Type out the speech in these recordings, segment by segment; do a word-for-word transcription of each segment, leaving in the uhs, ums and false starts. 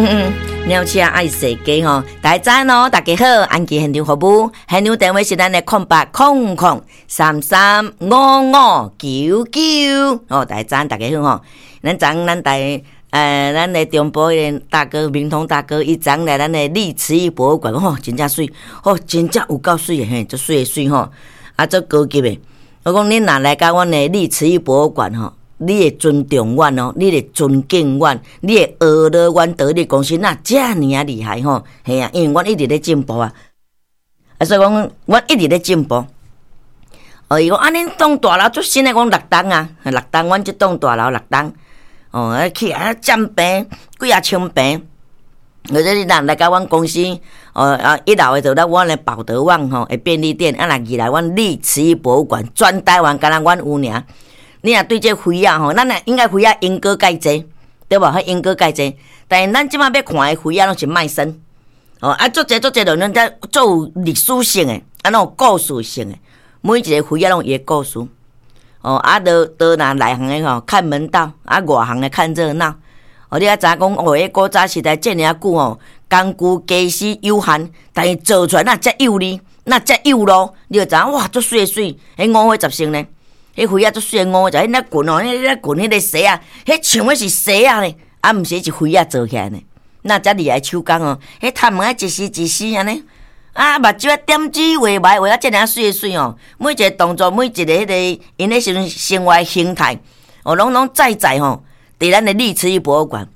嗯，鳥鼠仔愛踅街吼，大家早安哦，大家好，安琪現場服務，現場電話是咱的空八空空三三五五九九，哦，大家早安，大家好吼。咱昨咱台呃，咱的中部的大哥明通大哥，伊昨來咱的麗瓷藝博物館，吼，真正媠，吼，真正有夠媠的嘿，足媠的媠吼，啊，足高級的。我講恁若來到阮的麗瓷藝博物館吼，你會尊重阮哦，你會尊敬阮，你會學了阮得力公司哪遮爾仔厲害吼？嘿啊，因為阮一直咧進步啊，啊，所以講阮一直咧進步。哦，伊講啊，恁棟大樓足新的，講六棟啊，六棟，阮這棟大樓六棟。哦，啊起啊佔平幾仔千坪，或者你若來到阮公司，哦啊一樓的就咧阮的寶德旺吼的便利店，啊若二樓阮麗瓷藝博物館，全台灣干焦阮有爾。你若對這魚仔吼，咱若應該魚仔鸚哥蓋濟，對無？彼鸚哥蓋濟，但是咱這擺欲看的魚仔攏是賣身。哦，啊，足濟足濟，就咱遮足有歷史性的，啊，攏有故事性的，每一個魚仔攏有伊的故事。哦，啊，都都若內行的吼看門道，啊，外行的看熱鬧。哦，你也知影講，哦，彼古早時代遮爾仔久吼，工具家私有限，但是做出來哪遮幼膩，哪遮幼路，你就知影哇，足媠的媠，彼五花十色呢，彼魚仔足媠的五花十，彼那裙哦，彼那裙彼个紗仔，彼像的是紗仔呢，啊，毋是是魚仔做起來呢。哪遮厲害手工哦，彼頭毛仔一絲一絲按呢，啊，目睭仔點子畫眉畫啊，遮爾媠的媠哦，每一個動作，每一個彼个𪜶咧時陣生活形態，哦，攏攏在在吼，佇咱的麗瓷藝博物館。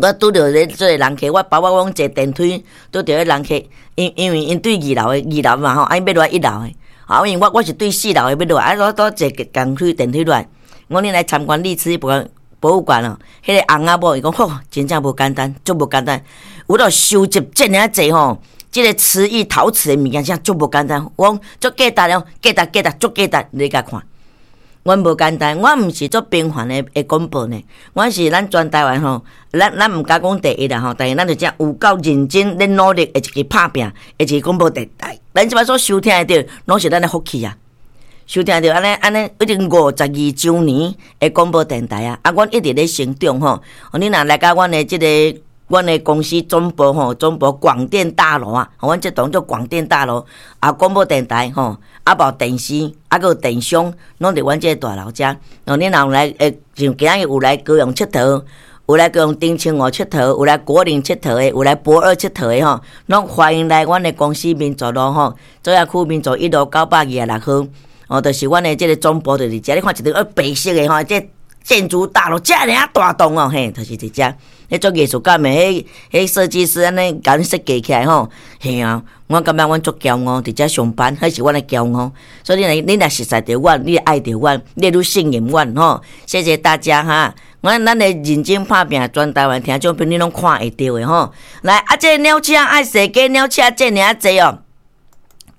我拄著咧做個人客，我包括阮坐電梯拄著彼人客，因因為𪜶對二樓的二樓嘛吼，啊𪜶欲落來一樓的，啊，因為我我是對四樓的欲落來，啊，我拄坐共梯電梯落來，我恁來參觀麗瓷藝博博物館哦，彼個翁仔某伊講吼，真正無簡單，足無簡單，有咧收集遮爾仔濟吼，這個瓷藝陶瓷的物件，真足無簡單。我講足價值哦，價值價值足價值，你共看。阮無簡單，阮毋是做平凡的的廣播呢，阮是咱全台灣吼，咱咱毋敢講第一啦吼，但是咱就遮有夠認真咧努力的一個拍拚的一個廣播電台。咱這擺所收聽的著，攏是咱的福氣啊！收聽著按呢按呢，已經五十二週年的廣播電台啊！啊，阮一直咧成長吼。你若來到阮的這個阮的公司總部吼，總部廣電大樓啊，阮這棟叫廣電大樓啊，廣播電台吼，啊，包電視，啊，閣有電商，攏佇阮這個大樓遮。哦，你若有來，會像今仔日有來高雄𨑨迌，有來高雄澄清湖𨑨迌，有來果嶺𨑨迌的，有來駁二𨑨迌的吼，攏歡迎來阮的公司民族路吼，左營區民族一路九百二十六號。哦，就是阮的這個總部就是遮。你看一棟白色的吼，這建築大樓遮爾仔大棟哦，嘿，就是佇遮。彼做藝術家的，彼彼設計師按呢共阮設計起來吼，嘿啊，我感覺阮足驕傲，佇遮上班，彼是阮的驕傲。所以你若你若熟似著阮，你會愛著阮，你會愈信任阮吼。謝謝大家哈！阮咱的認真拍拚，全台灣聽眾朋友攏看會著的吼。來，啊，這個鳥鼠愛踅街，鳥鼠遮爾仔濟哦。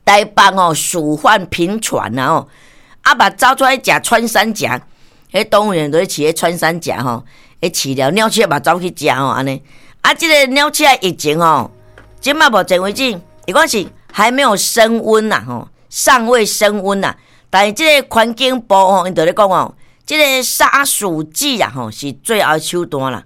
台北哦，鼠患頻傳啊吼，啊嘛走出來食穿山甲，彼動物園都咧飼彼穿山甲吼，彼飼了鳥鼠嘛走去食吼，按呢。啊，這個鳥鼠疫情吼，這馬目前為止，伊講是還沒有升溫呐吼，尚未升溫呐。但是這個環境部吼，𪜶就咧講哦，這個殺鼠劑啊吼，是最後手段啦。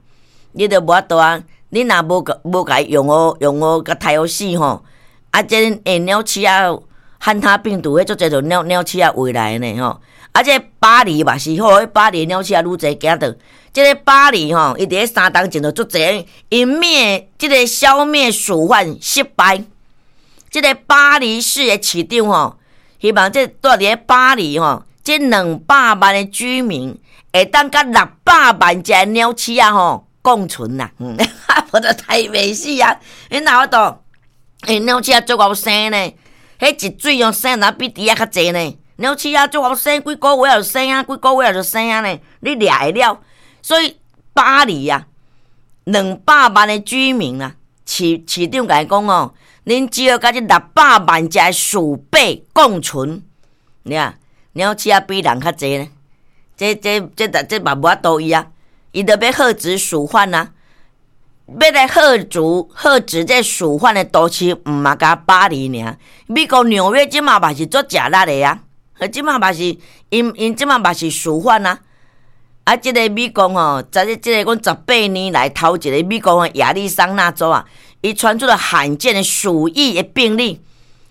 你都無法度啊，你若無無共伊用予用予共刣予死吼。啊，這欸鳥鼠仔漢他病毒，彼足濟就鳥鳥鼠仔餵來的呢吼。啊，這巴黎嘛是吼，彼巴黎鳥鼠仔愈濟驚著。這個巴黎吼，伊佇咧三冬前就足濟，𪜶滅這個消滅鼠患失敗。這個巴黎市的市長吼，希望這蹛佇咧巴黎吼，這兩百萬的居民會當佮六百萬隻鳥鼠仔吼共存啦。嗯，無就刣袂死啊！𪜶哪有法度？欸，鳥鼠仔足𠢕生呢，彼一水哦生若比豬仔較濟呢。鳥鼠仔足𠢕生，幾個月就生啊，幾個月就生啊呢，你掠會了。所以巴黎啊，兩百萬的居民啊，市市長共伊講哦，恁只要佮這六百萬隻鼠輩共存，你看鳥鼠仔比人較濟呢。這這這這嘛無法度伊啊，伊著欲遏止鼠患啊。欲來遏止遏止這鼠患的都市，毋嘛干焦巴黎爾。美國紐約這馬嘛是足食力的啊，這馬嘛是𪜶𪜶這馬嘛是鼠患啊。啊，這个美國吼，這個這个講十八年來頭一个美國的亞利桑那州啊，伊傳出了罕見的鼠疫的病例，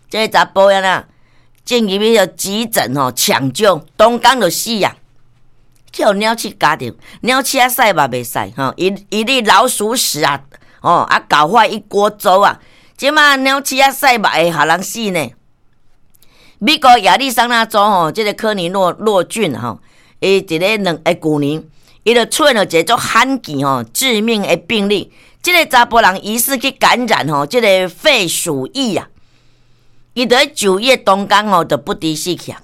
這个查埔仔啦，進入去個急診吼搶救，當工就死啊！去予鳥鼠咬著，鳥鼠仔屎嘛袂使吼，一一粒老鼠屎啊，哦啊搞壞一鍋粥啊！這馬鳥鼠仔屎嘛會予人死呢？美國亞利桑那州吼，這个科尼諾諾郡吼，伊佇咧兩欸舊年，伊就出現了一个足罕見吼致命的病例，這个查埔人疑似去感染吼，這个肺鼠疫啊，伊佇咧就醫當工吼就不治死去啊。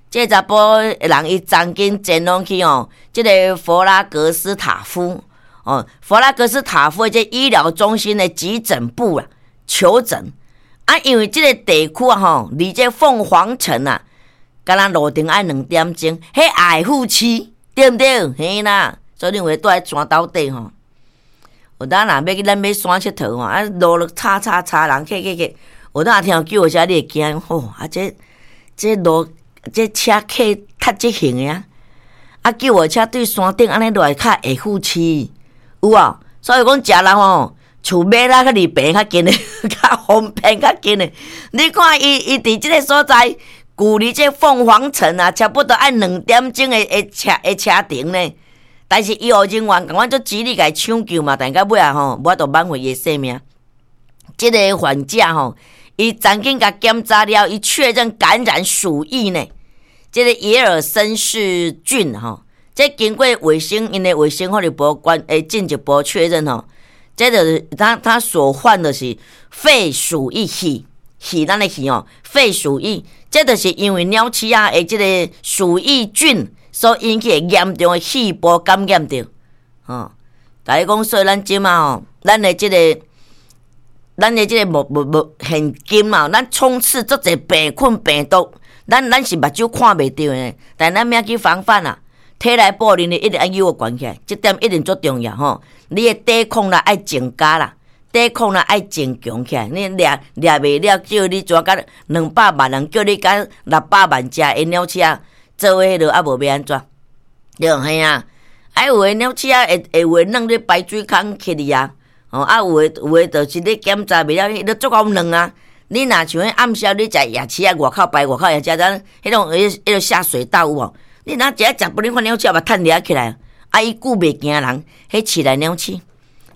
這个查埔人伊昨昏前往去吼，這个佛拉格斯塔夫哦，佛拉格斯塔夫的這醫療中心的急診部啊求診啊，因為這个地區啊吼，離這鳳凰城啊，敢若路程愛兩點鐘，彼愛富市對毋對？嘿啦，所以你有蹛佇山兜底吼。有當若欲去咱欲山𨑨迌吼，啊路路吵吵吵人客客客，有當聽救護車你會驚吼，啊這這路這車客較這型的啊，啊救護車對山頂按呢落來較會富市，有無？所以講食人吼，厝買啦較離病較近的，較方便較近的。你看伊伊佇這个所在，距離這鳳凰城啊，差不多愛兩點鐘的的車的車程呢。但是醫護人員共款足極力共伊搶救嘛，但到尾仔吼，無法度挽回伊的性命。這个患者吼，伊曾經共檢查了，伊確認感染鼠疫呢。這个耶爾森氏菌吼，這經過衛生𪜶的衛生福利部關會進一步確認吼，這就是他他所患的是肺鼠疫肺肺咱的肺吼，肺鼠疫，這就是因為鳥鼠仔的這个鼠疫菌所引起的嚴重的肺部感染著，吼。大家講，所以咱這馬吼，咱的這个，咱的這个無無無現今啊，咱充斥足濟病菌病毒，咱咱是目睭看袂著的，但咱欲去防範啊，體內保能力一定愛有懸起來，這點一定足重要吼。你的抵抗力愛增加啦，抵抗力愛增強起來。你掠掠袂了，叫你怎共兩百萬人，叫你共六百萬隻的鳥鼠仔做伙彼落，啊無欲按怎？對，嘿啊，啊有的鳥鼠仔會會有的軟佇排水孔起哩啊，哦啊有的有的就是你檢查袂了，彼都足夠軟啊。你若像彼暗暾，你食夜市啊，外口排外口夜食咱彼種彼彼个下水道有無？你若食食不，你看鳥鼠嘛趁掠起來，啊伊久袂驚人，彼市內鳥鼠，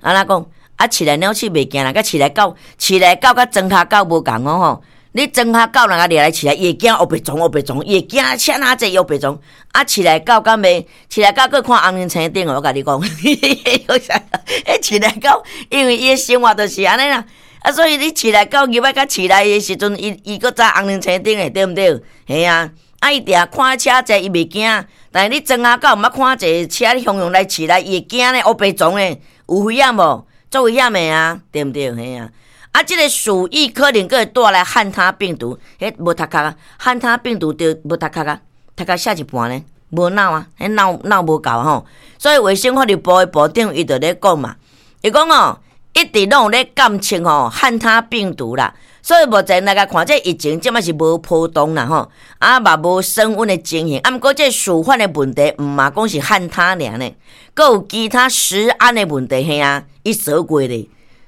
按怎講？啊市內鳥鼠袂驚人，佮市內狗，市內狗佮莊跤狗無仝哦吼。你莊跤狗若掠來市內，伊會驚烏白撞烏白撞，伊會驚車哪濟烏白撞。啊市內狗敢袂？市內狗閣看紅燈青燈哦，我共你講。彼市內狗因為伊的生活就是按呢啦。啊，所以你市內狗入來佮市內的時陣，伊伊閣知紅燈青燈的，對毋對？嘿啊，啊伊定看車濟，伊袂驚。但是你莊跤狗毋捌看濟車，你雄雄來市內，伊會驚咧，烏白撞咧，有危險無？足危險的啊，對毋對？嘿啊。啊，這个鼠疫可能閣會帶來漢他病毒，彼無讀冊啊，漢他病毒著無讀冊啊，讀冊寫一半呢，無腦啊，彼腦腦無夠吼。所以衛生福利部的部長伊就咧講嘛，伊講哦，一直攏有咧監測吼漢他病毒啦，所以目前來共看，這疫情這馬是無波動啦吼，啊嘛無升溫的情形。啊，毋過這鼠患的問題，毋嘛講是漢他爾呢，閣有其他食安的問題，嘿啊，伊說過咧。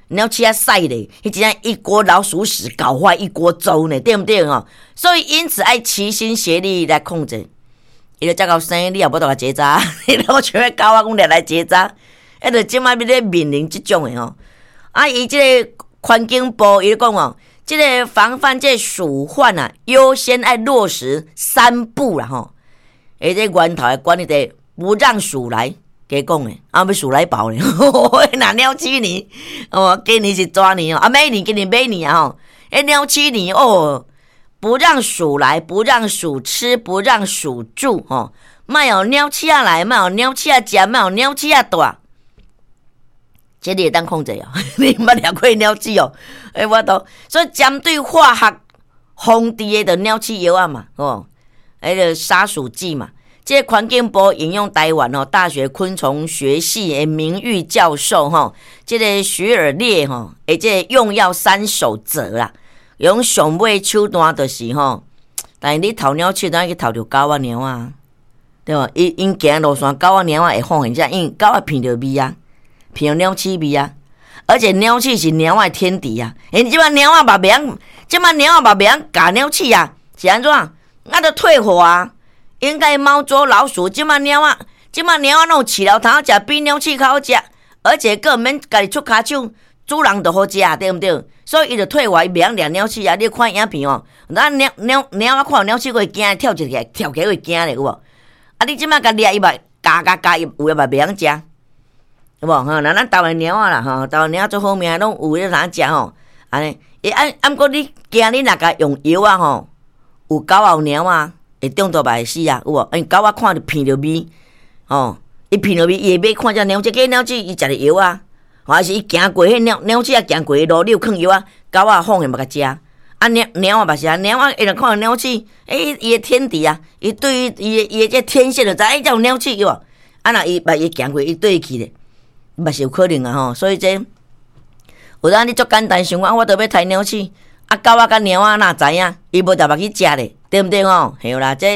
鳥鼠仔屎咧，彼真正一鍋老鼠屎搞壞一鍋粥呢，對毋對吼？所以因此愛齊心協力來控制。伊就才夠生，你也無法度結紮，你若像彼狗仔講掠來結紮，彼就這馬欲咧面臨這種的吼。啊，伊這个環境部伊講哦，這个防範這鼠患啊，優先愛落實三不啦吼。伊這源頭的管理得不讓鼠來。加講的，啊，欲鼠來寶咧，若鳥鼠年，哦，今年是蛇年哦，啊，馬年今年馬年啊吼，彼鳥鼠年哦，不讓鼠來，不讓鼠吃，不讓鼠住，吼，莫予鳥鼠仔來，莫予鳥鼠仔食，莫予鳥鼠仔蹛，這你會當控制哦？你毋捌掠過鳥鼠哦？欸，我都所以針對化學防治的就鳥鼠藥仔嘛，吼，彼个殺鼠劑嘛。這個環境部引用臺灣吼大學昆蟲學系的名譽教授吼，這个徐爾烈吼，的這个用藥三守則啦，用上尾手段就是吼，但是你刣鳥鼠，當去刣著狗仔貓啊，對無？伊𪜶行路線，狗仔貓仔會放現這，因為狗仔鼻著味啊，鼻著鳥鼠味啊，而且鳥鼠是貓仔的天敵啊。𪜶這擺貓仔嘛袂曉，這擺貓仔嘛袂曉咬鳥鼠啊，是按怎？啊，著退化啊！應該貓捉老鼠，這擺貓仔，這擺貓仔攏有飼料通好食，比鳥鼠較好食，而且閣毋免家己出跤手，主人就予食，對毋對？所以伊就退化，伊袂曉掠鳥鼠啊！你看影片哦，咱貓貓貓仔看著鳥鼠，閣會驚，跳一個跳起來會驚咧，有無？啊！你這擺共掠伊嘛，咬咬咬伊有的嘛袂曉食，有無？吼，那咱台灣貓仔啦，吼，台灣貓仔足好命，攏有咧通食吼。按呢，伊按按過你驚你若共用藥仔吼，有狗仔有貓仔會中毒嘛會死啊，有無？因為狗仔看著鼻著味，吼，伊鼻著味，伊會欲看這鳥鼠，這鳥鼠伊食著藥仔，還是伊行過彼鳥鳥鼠仔行過路，你有囥藥仔，狗仔放現嘛共食。啊，貓貓仔嘛是啊，貓仔伊若看著鳥鼠，欸，伊的天敵啊，伊對於伊的伊的這天線就知，欸，這有鳥鼠有無？啊，若伊嘛伊行過，伊對去咧，嘛是有可能啊吼。所以這有當你足簡單想講，我著欲刣鳥鼠，啊，狗仔佮貓仔哪知影？伊無特別去食咧，對毋對吼？對啦，這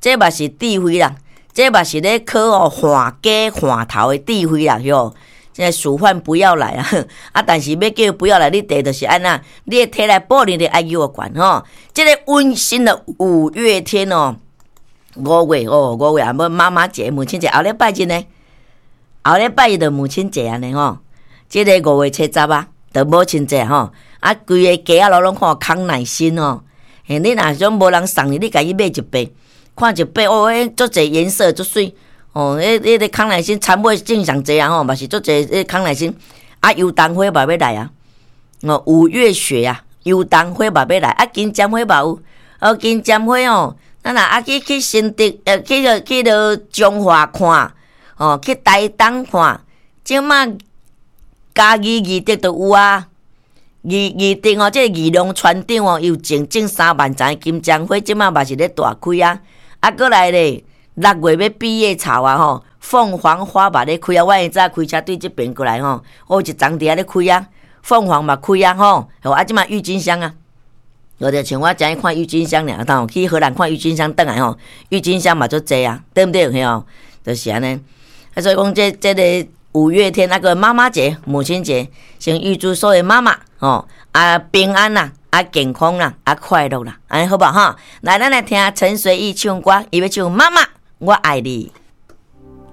這嘛是智慧啦，這嘛是咧考哦換家換頭的智慧啦，吼。這鼠患不要來啊！啊，但是欲叫不要來，你第就是按怎？你的體力保能力愛猶懸吼。這个溫馨的五月天哦，五月哦，五月啊，欲媽媽節、母親節，後禮拜日呢？後禮拜日就母親節按呢吼。這个五月初十啊，就母親節吼。啊，規个街仔路攏看康乃馨哦。嘿，你若想無人送你，你家己買一把，看一把哦，彼足濟顏色足媠。哦，彼彼个康乃馨田尾種上濟啊吼，嘛是足濟彼康乃馨。啊，油桐花嘛欲來啊。哦，五月雪啊，油桐花嘛欲來。啊，金針花嘛有。哦，金針花哦，咱若啊去去新竹，呃，去著去著彰化看，哦，去台東看，這馬嘉義義德都有啊。義義德哦，這个義農船長哦，伊有種種三萬叢金針花，這馬嘛是咧大開啊。啊，閣來咧，六月欲畢業草啊吼，鳳凰花嘛咧開啊！我會早開車對這邊過來吼，我有一叢佇遐咧開啊，鳳凰嘛開啊吼，啊這馬鬱金香啊，我就像我昨昏看鬱金香爾，吼，去荷蘭看鬱金香轉來吼，鬱金香嘛足濟啊，對毋對？嘿哦，就是按呢。啊，所以講這這个五月天那個媽媽節、母親節，先預祝所有媽媽吼啊平安啦，啊健康啦，啊快樂啦，按呢好無吼？來，咱來聽陳隨意唱歌，伊欲唱媽媽。我愛你。